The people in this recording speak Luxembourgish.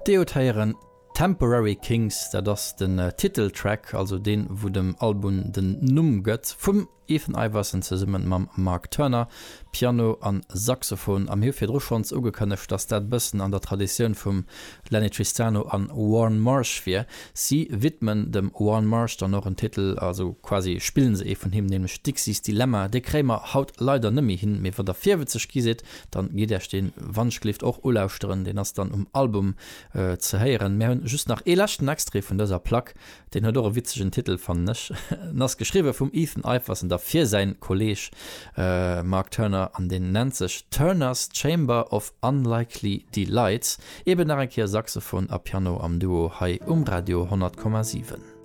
Dir hutt héieren Temporary Kings, dat ass den Titeltrack, also deen wou dem Album den Numm gëtt, vum Ethan Iverson zesummen mam Mark Turner, Piano an Saxophon. A mir hu virdru schonns ugekënnegt, dass dat bëssen an der Traditioun vum Lenny Tristano an Warne Marsh wier. Si widmen dem Warne Marsh dann och en Titel, also quasi spillen se ee vun him, nämlech Dixie's Dilemma. Dee kréie mer haut leider net méi hin, mee wann der virwëtzeg gi sidd, Dann gitt Äech deen wannschgelift och ulauschteren, deen ass dann um Album ze héieren. Mär hunn just nach ee leschten Extrait vun dëser Plack, deen huet och e witzegen Titel fannen ech. En ass geschriwwe vum Ethan Iverson da fir säin Kolleeg Mark Turner an deen nennt sech Turner's Chamber of Unlikely Delights. Eben nach eng Kéier Saxophon a Piano am Duo hei um Radio 100,7.